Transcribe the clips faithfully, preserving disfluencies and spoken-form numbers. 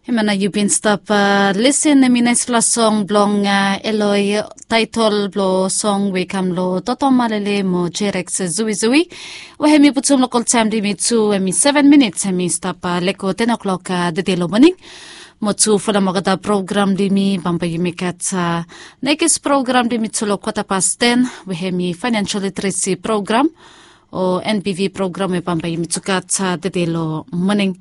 Hemia nao yu bin stap lesen, hemi naispela song blong Eloi, taetol blong song we i kam long Toto Malele mo Jerex Zuizui. We hemi putum lokol taem blong yumi tu, hemi seven minits, hemi stap lego ten o'clock tede long moning. Mo tu folem olgeta program blong yumi, bambae yumi gat nekis program blong yumi tu long kwata pas ten, we hemi financial literacy program o N B V program we bambae yumi tu gat tede long moning.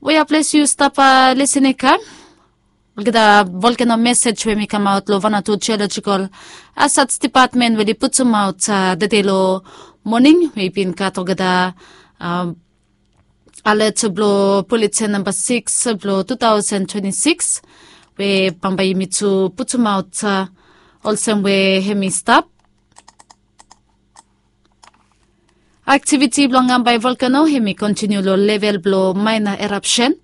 We ya ples yu stap lesen i kam olgeta volcano mesej we hemi kamaot long Vanuatu Geological Hazards Department we oli putumaot tede long moning, we i bin gat olgeta alet blong bulletin namba sikis blong two thousand twenty-six, we bambae yumi tu putumaot olsem we hemi stap. Aktiviti blong Ngambae volkeno hemi kontiniu long level blong maena erapsen.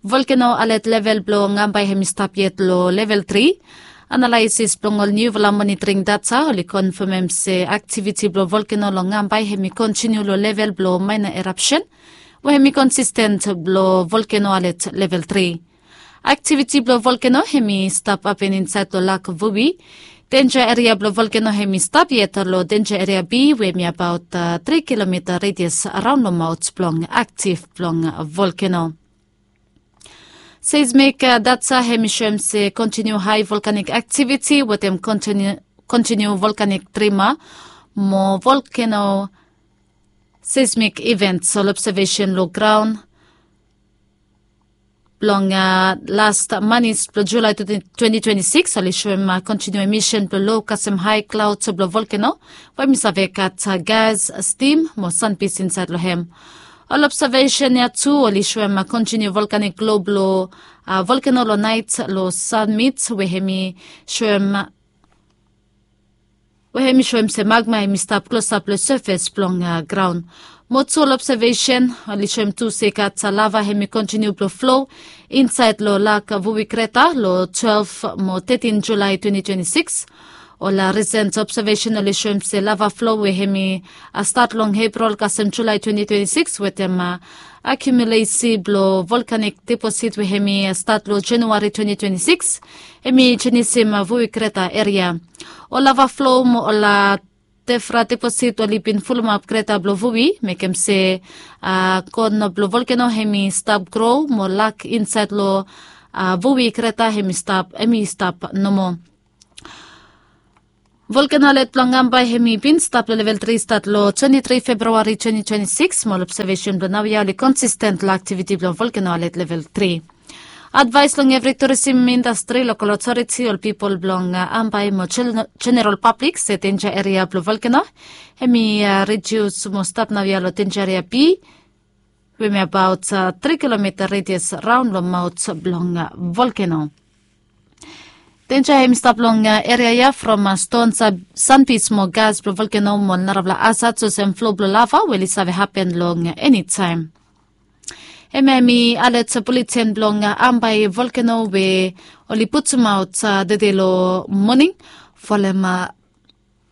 Volkeno alet level blong Ngambae hemi stap yet long level tri. Analaesis blong ol niufala monitoring data oli konfamem se aktiviti blong volkeno long Ngambae hemi kontiniu long level blong maena erapsen, we hemi konsisten blong volkeno alet level tri. Aktiviti blong volkeno hemi stap hapen insaed long lak Vui. Denja eria blong volkeno hemi stap yet long denja eria B, we hemi abaot tri kilomita redias raon long maot blong aktiv blong volkeno. Seismik data hemi soem se kontiniu hae volkanik aktiviti wetem kontiniu volkanik trima mo volkeno seismik ivents. Ol obsevesen long graon blong las manis blong Julae twenty twenty-six oli soem kontiniu emisen blong lo kasem hae klaod blong volkeno, we hemi save gat gas, stim mo sanbis insaed long hem. Ol obsevesen ya tu oli soem kontiniu volkanik glo blong volkeno long naet long sanmit, we hemi soem we hemi soem se magma hemi stap klosap long sefes blong graon. Mo tu ol obsevesen oli soem tu se i gat lava hemi kontiniu blong flo insaed long lak Vui kreta long twelef mo tetin Julae twenty twenty-six. Ol risen obsevesen oli soem se lava flo we hemi stat long Epril kasem Julae twenty twenty-six wetem akiumulesi blong volkanik deposit we hemi stat long Januari twenty twenty-six hemi jenisim Vui kreta eria. Ol lava flo mo ol tefra deposit oli bin fulumap kreta blong Vui, mekem se kon blong volkeno hemi stap gro mo lak insaed long Vui kreta hemi stap, hemi stap nomo. Volkeno alet blong Ngambae hemi bin stap long level tri stat long twenty three February twenty twenty six, mo ol obsevesen blong naoia oli konsisten long aktiviti blong volkeno alet level tri. Advaes long evri turisim indastri, lokal otoriti, ol pipol blong Ambae mo jeneral pablik se denja eria blong volkeno hemi redius mo stap naoia long denja eria B, we hemi abaot tri kilomita redias raon long maot blong volkeno. Denja hemi stap long eria ia from ston, sanbis mo gas blong volkeno mo narafala hazad olsem flo blong lava we oli save hapen long enitaem. Hemia hemi alet buleten blong Ambae volkeno we oli putumaot tede long moning folem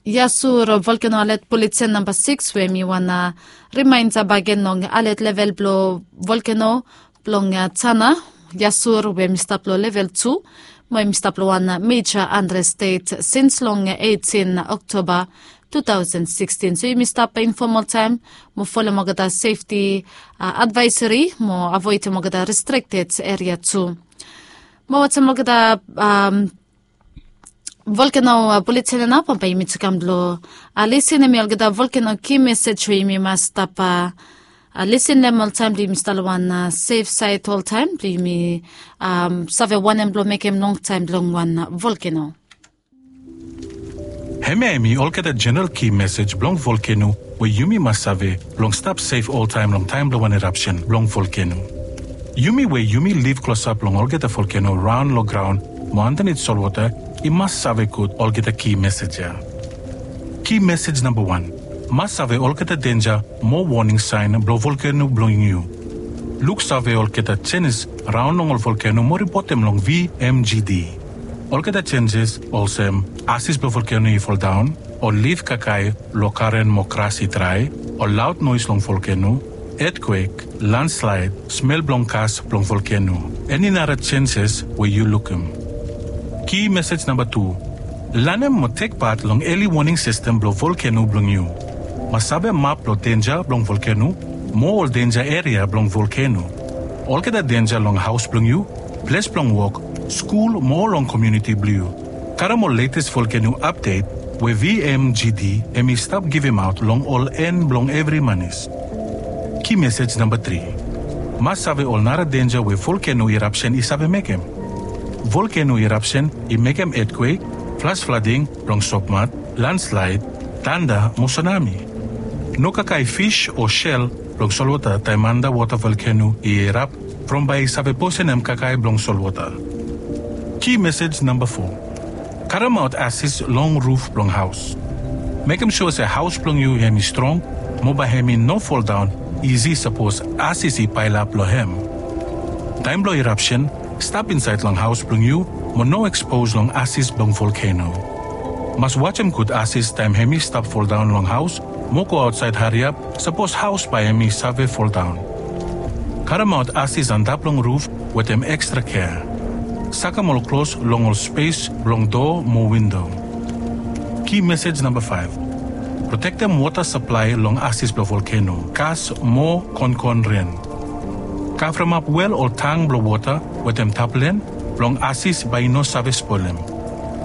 Yasur volkeno alet buleten namba sikis, we hemi wan rimaenda bakegen long alet level blong volkeno blong Tana Yasur, we hemi stap long level tu, mo hemi stap long wan meja andrestet sins long eitin Oktoba tu taosen sikisin. So yumi stap infom oltaem mo folem olgeta sefti advaeseri mo avoedem olgeta restrikted eria tu. Mo wetem olgeta volkeno buleten ya nao, bambae yumi tu kam blong lisin hemi olgeta volkeno ki mesej we yumi mas stap lisin long hem oltaem blong yumi stap long wan sef saed oltaem blong yumi save wanem blong mekem longtaem blong wan volkeno. Hemia hemi olgeta jeneral ki mesej blong volkeno we yumi mas save blong stap sef oltaem long taem blong wan erapsen blong volkeno. Yumi we yumi liv klosap long olgeta volkeno raon long graon mo andanit solwota i mas save gud olgeta ki mesej ya. Ki mesej namba wan, mas save olgeta denja mo woning saen blong volkeno blong yu. Luksave olgeta jenis raon long ol volkeno mo ripotem long V M G D. Olgeta jenjes olsem ases blong volkeno i foldaon, ol lif kakae long karen mo gras i drae, ol laod noes long volkeno, etkwek, landslaed, smel blong kas blong volkeno, eni nara jenses we yu lukim. Ki mesej namba tu. Lanem mo tek pat long eli woning sistem blong volkeno blong yu. Mas save map blong denja blong volkeno mo ol denja eria blong volkeno. Olgeta denja long haos blong yu, ples blong wok, skul mo long komuniti blong yu. Karem ol letes volkeno apdet we V M G D hem i stap givimaot long ol en blong evri manis. Ki mesej namba tri. Mas save ol nara denja we volkeno irapsen i save mekem. Volkeno irapsen i mekem etkwek, flas flading blong sopmat, landslaed, tanda mo sunami. No kakae fis o sel blong solwota taem andawota volkeno i irap from bae i save posenem kakae blong solwota. Ki mesej namba fo. Karemaot asis long ruf blong haos. Mekem sua se haos blong yu hem i strong mo bae hem i no foldaon isi sapos asis i paelap long hem. Taem blong irapsen, stap insaed long haos blong yu mo no ekspos long asis blong volkeno. Mas wajem gud asis taem hem i stap foldaon long haos mo go aotsaed hariap sapos haos bae hem i save foldaon. Karemaot asis antap long ruf wetem ekstra kea. Sakem ol klos long ol spes blong doa mo windo. Ki mesej namba faef. Protektem wota saplae long asis blong volkeno, kas mo konkon ren. Kavremap wel ol tang blong wota wetem taplen blong asis bae i no save spolem.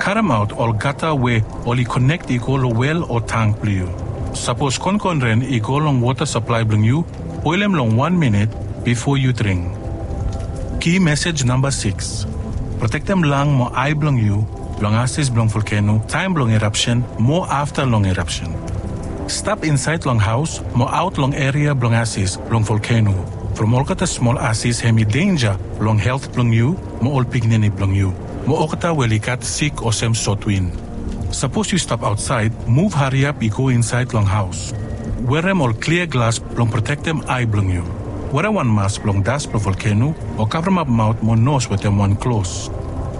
Karemaot ol gata we oli konek i go long wel o tang blong yu. Sapos konkon ren i go long wota saplae blong yu, boelem long wan minit bifo yu dring. Ki mesej namba sikis. Protektem lang mo ae blong yu blong asis blong volkeno taem blong irapsen mo afta long irapsen. Stap insaed long haos mo aot long eria blong asis blong volkeno. From olgeta smol asis hem i denja long helt blong yu mo ol pikinini blong yu mo olgeta we oli gat sik olsem sotwin. Sapos yu stap aotsaed, muv hariap i go insaed long haos. Werem ol klia glas blong protektem ae blong yu. Werem wan mas blong das blong volkeno o kavremap maot mo nos wetem wan klos.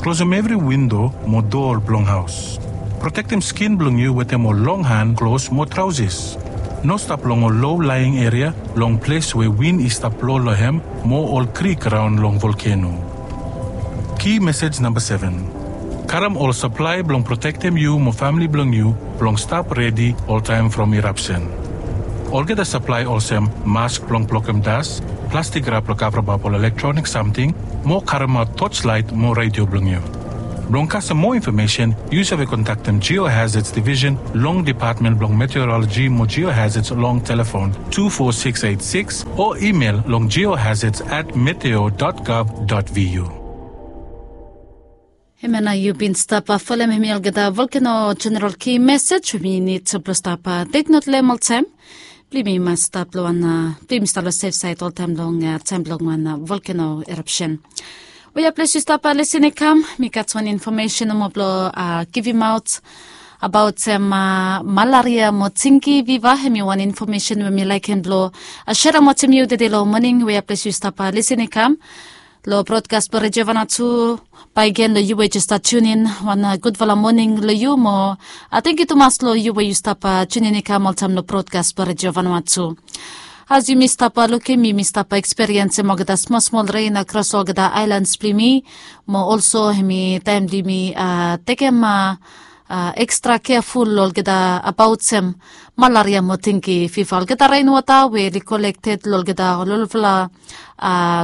Klosem evri windo mo doa blong haos. Protektem skin blong yu wetem ol long han klos mo traosis. No stap long ol lo laeng eria long ples we win i stap blo long hem mo ol krik raon long volkeno. Ki mesej namba seven. Karem ol saplae blong protektem yu mo famle blong yu blong stap redi oltaem from irapsen. Olgeta saplae olsem mask blong blokem das, plastik rap blong kavremap ol elektronik samting, mo karemaot toslaet mo redio blong yu. Blong kasem moa infomesen, yu save kontaktem Geohazards Division long Depatmen blong Meteoroloji mo Geohazards long telefon tu fo sikis eit sikis o imel long geohazards at meteo dot gov dot vu. Hemia nao yu bin stap folem hemi olgeta volkeno jeneral ki mesej we mi nid blong stap teknot long hem oltaem. Blong yumi mas stap long wan, blong yumi stap long sef saed oltaem long taem blong wan volkeno erapsen. Wea ples yu stap lisin i kam, mi gat wan infomesen nomo blong givimaot abaot malaria mo tingi fiva. Hemi wan infomesen we mi laekem blong serem wetem yu tede long moning. Wea ples yu stap lisin i kam long brodkas blong Redio Vanuatu. Bakegen long yu we jes stat tiunin, wan gudfala moning long yu mo tangkiu tumas long yu we yu stap tiunin i kam oltaem long brodkas blong Redio Vanuatu. As yumi stap lukim, yumi stap ekspiriensem olgeta smol smol ren akros olgeta aelans blong yumi, mo olso hemi taem blong yumi tekem ekstra keaful long olgeta abaot sem malaria mo tingi fiva. Olgeta renwota we oli kolekted long olgeta ololfala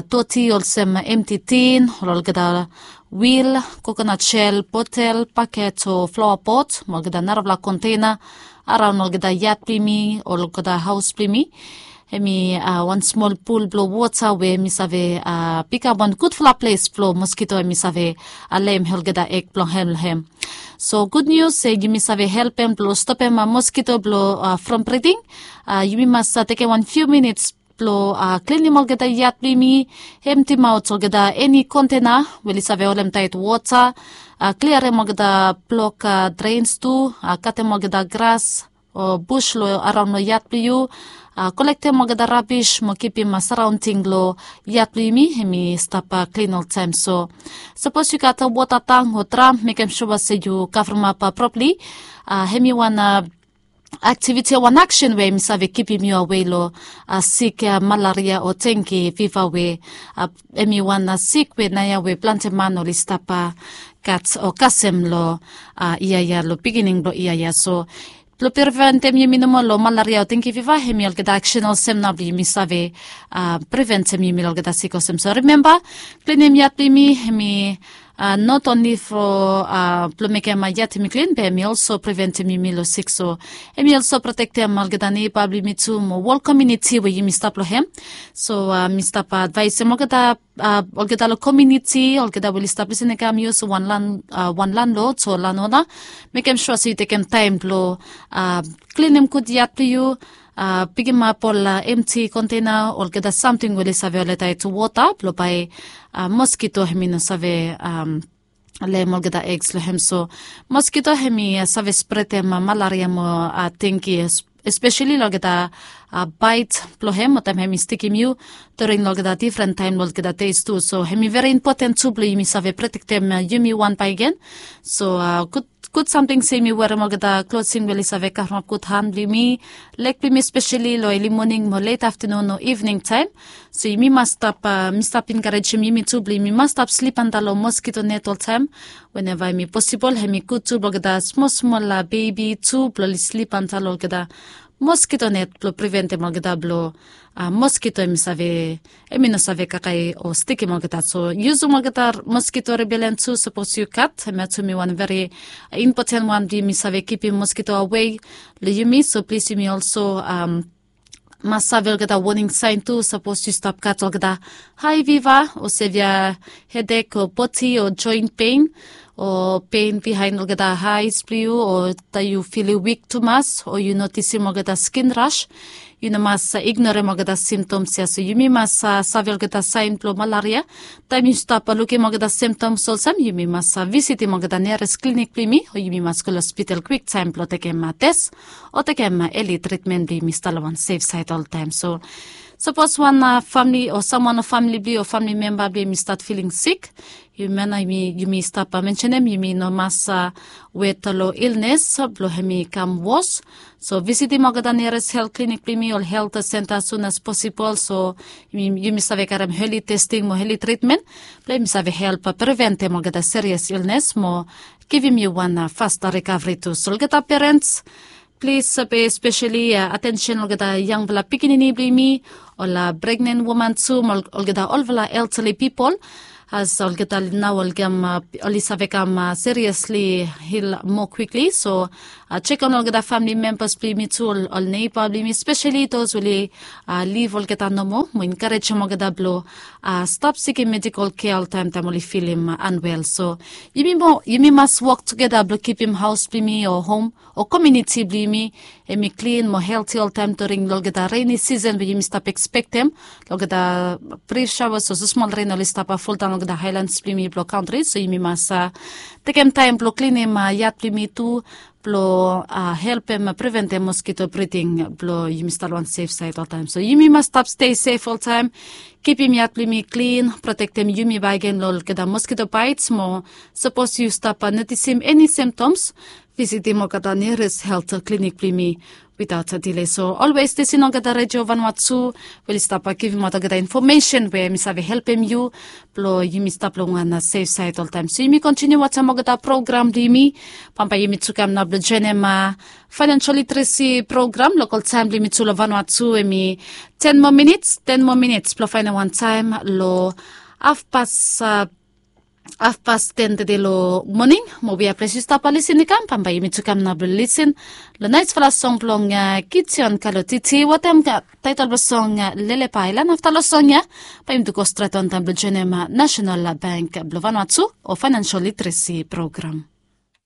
doti olsem emti tin, olgeta wil, kokonat sel, botel, baket o flaoa pot mo olgeta narafala konteina araon olgeta yat blong yumi, olgeta haos blong yumi. Hemi wan smol pul blong wota we hemi save bikam wan gudfala ples blong moskito hemi save leem olgeta eg blong hem long hem. So gud nius se yumi save helpem blong stopem moskito blong from briding. Yumi mas tekem wan fiu minits blong klinim olgeta yat blong yumi, emtimaot olgeta eni kontena we oli save holem taet wota, kliarem olgeta blok drens tu, katem olgeta gras o bus long araon long yat blong yu, kolektem olgeta rabis mo kipim saraonding long yat blong yumi hemi stap klin oltaem. So sapos yu gat wota tang o dram, mekem sua se yu kavremap propali. Hemi wan aktiviti o wan aksen we mi save kipim yu awe long sik malaria o tenki fiva we em i wan sik we naoia we planti man oli stap gat o kasem long yia ya, long pikinini blong yia ya. So blong preventem yumi nomo long malaria o tenki fiva, em i olgeta aksen olsem nao blong yumi save preventem yumi long olgeta sik olsem. So rimemba, klinim yat blong yumi em i not onli fo blong mekem yat yumi klin, be em i olso preventem yumi long sik. So em i olso protektem olgeta neiba blong yumi tu mo wol komuniti we yumi stap long hem. So mi stap advaesem olgeta olgeta long komuniti, olgeta we oli stap lisin i kam yus wan lan wan landlod o lanona, mekem sua se yu tekem taem blong klinim gud yat blong yu, pikimap ol emti konteina, olgeta samting we oli save oleta i tu wota blong bae moskito hem i no save lem olgeta eks long hem. So moskito hem i save spretem malaria mo tenki, espeseli long olgeta baet blong hem o taem hem i stikim yu during long olgeta difren taem long olgeta deis tu. So hem i veri impoten tu blong yumi save protektem yumi wan baegen. So gud gud samting se yumi werem olgeta klosing we oli save kavremap gud han blong yumi, leg blong yumi, espeseli long eli moning mo let aftanun o ivning taem. So yumi mas stap mi stap enkarejem yumi tu blong yumi mas stap slip antap long moskito net oltaem. Weneva hem i posibol hem i gud tu blong olgeta smol smol bebi tu blong oli slip antap long olgeta moskito net blong preventem olgeta blong moskito hem i save hem i no save kakae o stikim olgeta. So yusum olgeta moskito repelen tu sapos yu gat, hemia tu hem i wan veri impoten wan blong yumi save kipim moskito awe long yumi. So plis yumi olso mas save olgeta woning saen tu sapos yu stap gat olgeta hae fiva o sevia hedek o bodi o joen pen o pen bihaen olgeta haes blong yu o taem yu filim wik tumas o yu notisim olgeta skin ras. Yu no mas ignorem olgeta simtoms ya. So yumi mas save olgeta saen blong malaria. Taem yu stap lukim olgeta simtoms olsem yumi mas visitim olgeta neres klinik blong yumi o yumi mas go long hospital kwiktaem blong tekem tes o tekem eli tritmen blong yumi stap long wan sef saed oltaem. So sapos wan famili o samwan long famili blong yu o famili memba blong yumi stat filing sik, yumi stap mensenem yumi no mas wet long ilnes blong hem i kam wos. So visitim olgeta neres helt klinik blong yumi ol helt senta as sun as posibol, so yumi save karem heli testing mo heli tritmen blong yumi save help preventem olgeta serias ilnes mo givim yu wan fasta rikavri tu. So olgeta perens, plis be espeseli atensen olgeta yangfala pikinini blong yumi, ol pregnen woman tu mo olgeta olfala eltali pipol, as olgeta nao oli kam oli save kam seriasli hil moa kwikli. So jekem long olgeta famili membas blong yumi tu, ol neiba blong yumi, speseli dos we oli liv olgeta nomo, mo enkarejem olgeta blong stap sikim medikol kea oltaem taem oli filim anwel. So yumi mas wok tugeta blong kipim haos blong yumi o hom o komuniti blong yumi hem i klin mo helti oltaem during long olgeta reni sisen we yumi stap ekspektem, long olgeta brif saoas o smol ren oli stap fuldaon long olgeta haelans blong yumi blong kantri. So yumi mas tekem taem blong klinim yat blong yumi tu blong helpem preventem moskito briding blong yumi stap long wan sef saed oltaem. So yumi mas stap stei sef oltaem, kipim yat blong yumi klin, protektem yumi bakegen long olgeta moskito baets mo sapos yu stap notisim eni simtoms, visitim olgeta neres helt klinik blong yumi witaot dile. So olwes lisin olgeta redio vanua tu we oli stap givimaot olgeta infomesen we mi save helpem yu blong yumi stap long wan sef saed oltaem. So yumi kontiniu wantem olgeta program blong yumi. Bambae yumi tu kam nao blong joenem faenensel literesi program. Lokol taem blong yumi tu long vanua tu hem i ten moa minits, ten moa minits blong faenem wan taem long hafpas hafpas ten teti long moning. Mo wia ples yu stap lisin i kam, bambae yumi tu kam nao blong lisin long naesfala song blong Gideon Kalotiti wetem taetol blong song Lelepa Aelan. Afta long song ya bae yumi tu go stret wantaem blong joenem Nasenal Bank blong Vanuatu o Faenensel Literesi Program.